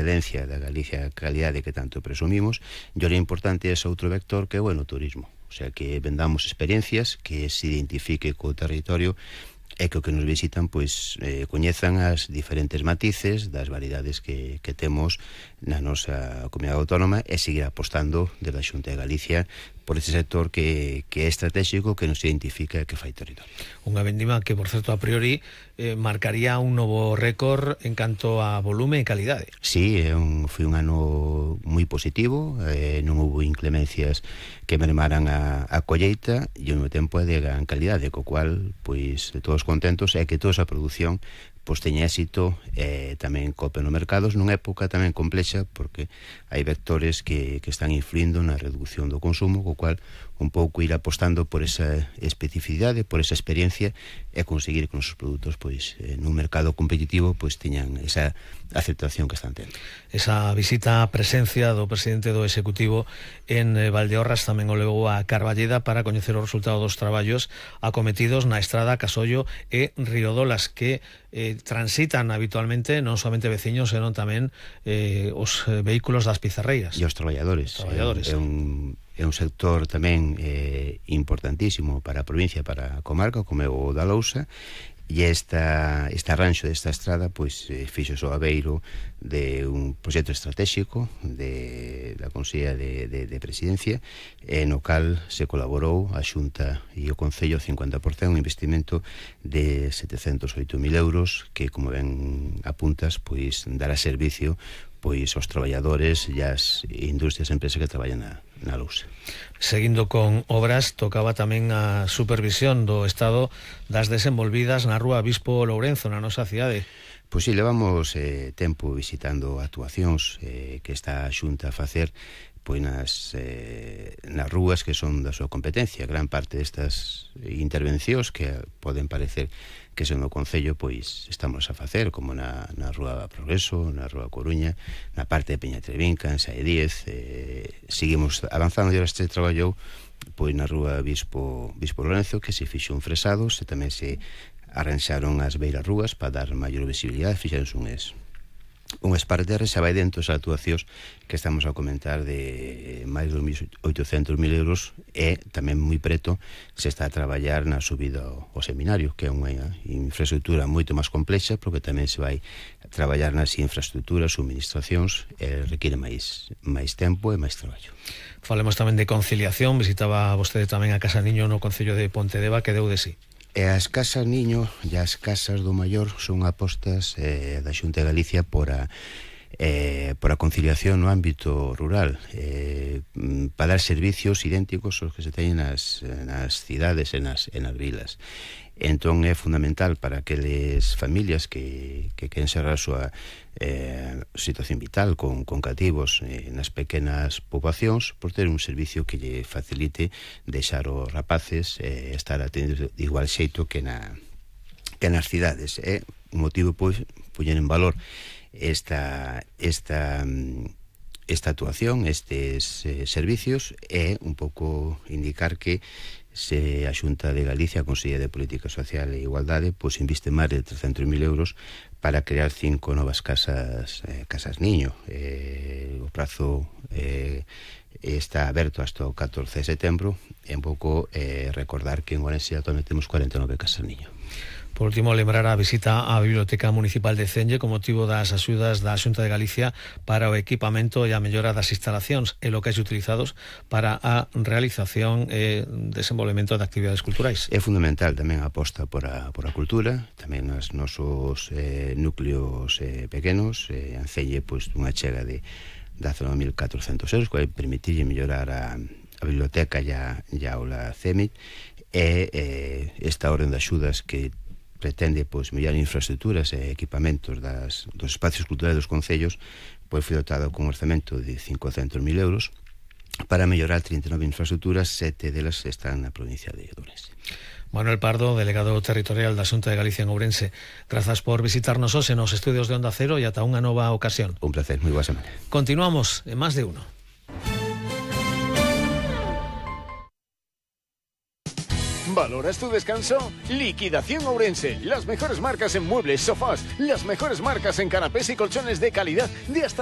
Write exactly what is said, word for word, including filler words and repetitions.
excelencia da Galicia, a calidade que tanto presumimos, e o importante é ese outro vector que é o enoturismo, o sea, que vendamos experiencias, que se identifique co territorio e que o que nos visitan pois eh, coñezan as diferentes matices das variedades que, que temos na nosa comunidade autónoma e seguir apostando desde a Xunta de Galicia por ese sector que, que é estratégico, que nos identifica e que fai territorio. Unha vendima que, por certo, a priori eh, marcaría un novo récord en canto a volume e calidade. Sí, é un, foi un ano moi positivo, eh, non houve inclemencias que mermaran a, a colleita e ao mesmo tempo é de gran calidade, co cual, pois, todos contentos é que toda esa produción pois teña éxito e eh, tamén cope no mercados nunha época tamén complexa porque hai vectores que, que están influindo na reducción do consumo, co cual un pouco ir apostando por esa especificidade, por esa experiencia e conseguir que os nosos produtos pois eh, nun mercado competitivo pois teñan esa aceptación que están tendo. Esa visita a presencia do presidente do Executivo en eh, Valdeorras tamén o levou a Carballeda para coñecer o resultado dos traballos acometidos na estrada Casollo e Riodolas que eh, transitan habitualmente non somente veciños, senón tamén eh, os vehículos das pizarreiras. E os traballadores. traballadores. É, é, un, é un sector tamén eh, importantísimo para a provincia, para a comarca, como é o da Lousa, e esta, este arranxo desta estrada pois eh, fixo o aveiro de un proxecto estratégico de, da Consellería de, de, de Presidencia e no cal se colaborou a Xunta e o Concello cincuenta por cento, un investimento de setecentos oito mil euros que, como ben apuntas, pois dará servicio pois aos traballadores e as industrias e empresas que traballan na, na Lousa. Seguindo con obras, tocaba tamén a supervisión do estado das desenvolvidas na Rúa Bispo Lourenzo, na nosa cidade. Pois si, levamos eh, tempo visitando actuacións eh, que está a Xunta a facer pois nas, eh, nas rúas que son da súa competencia. Gran parte destas intervencións que poden parecer que son do Concello, pois estamos a facer, como na, na Rúa Progreso, na Rúa Coruña, na parte de Peñatrevinca, en Saedíez, eh, seguimos avanzando e ahora este traballou pois na Rúa Bispo, Bispo Lorenzo, que se fixo un fresado, se tamén se arranxaron as beiras rúas para dar maior visibilidade, fixeronse unhas unhas parterres, xa vai dentro as actuacións que estamos a comentar de máis de oitocentos mil euros e tamén moi preto se está a traballar na subida ao, ao seminario, que é unha infraestructura moito máis complexa, porque tamén se vai a traballar nas infraestructuras, suministracións, e requiere máis, máis tempo e máis traballo. Falemos tamén de conciliación, visitaba vostede tamén a Casa Niño no Concello de Pontedeva, que deu de sí. E as casas niño e as casas do maior son apostas eh, da Xunta de Galicia por a, eh, por a conciliación no ámbito rural, eh, para dar servicios idénticos aos que se teñen nas, nas cidades e nas, e nas vilas. Entón é fundamental para aqueles familias que, que queren cerrar a súa eh, situación vital con, con cativos eh, nas pequenas poboacións, por ter un servicio que lle facilite deixar os rapaces eh, estar atendidos de igual xeito que, na, que nas cidades. É un motivo pois poñer en valor esta, esta, esta actuación, estes eh, servicios, e un pouco indicar que se a Xunta de Galicia, a Consellería de Política Social e Igualdade, pois inviste máis de trescentos mil euros para crear cinco novas casas eh, casas niño. Eh, o prazo eh, está aberto hasta o catorce de setembro e un pouco eh, recordar que en Ourense actualmente temos cuarenta e nove casas niño. Por último, lembrar a visita á Biblioteca Municipal de Cenlle con motivo das axudas da Xunta de Galicia para o equipamento e a mellora das instalacións e locais utilizados para a realización e desenvolvemento de actividades culturais. É fundamental tamén a aposta por a, por a cultura, tamén nos nosos eh, núcleos eh, pequenos, eh, en Celle, pois, unha chega de dezanove mil catrocentos euros, que vai permitir mellorar a, a biblioteca e a, e a aula C E M I T, e eh, esta orden de axudas que pretende pois mellorar infraestructuras e equipamentos das, dos espacios culturais dos concellos, pois foi dotado con un orzamento de cincocentos mil euros para mellorar trinta e nove infraestructuras, sete delas están na provincia de Ourense. Manuel Pardo, delegado territorial da Xunta de Galicia en Ourense, grazas por visitarnos hoxe nos estudios de Onda Cero e ata unha nova ocasión. Un placer, moi boa semana. Continuamos en Más de Uno. ¿Valoras tu descanso? Liquidación Ourense. Las mejores marcas en muebles, sofás, las mejores marcas en canapés y colchones de calidad de hasta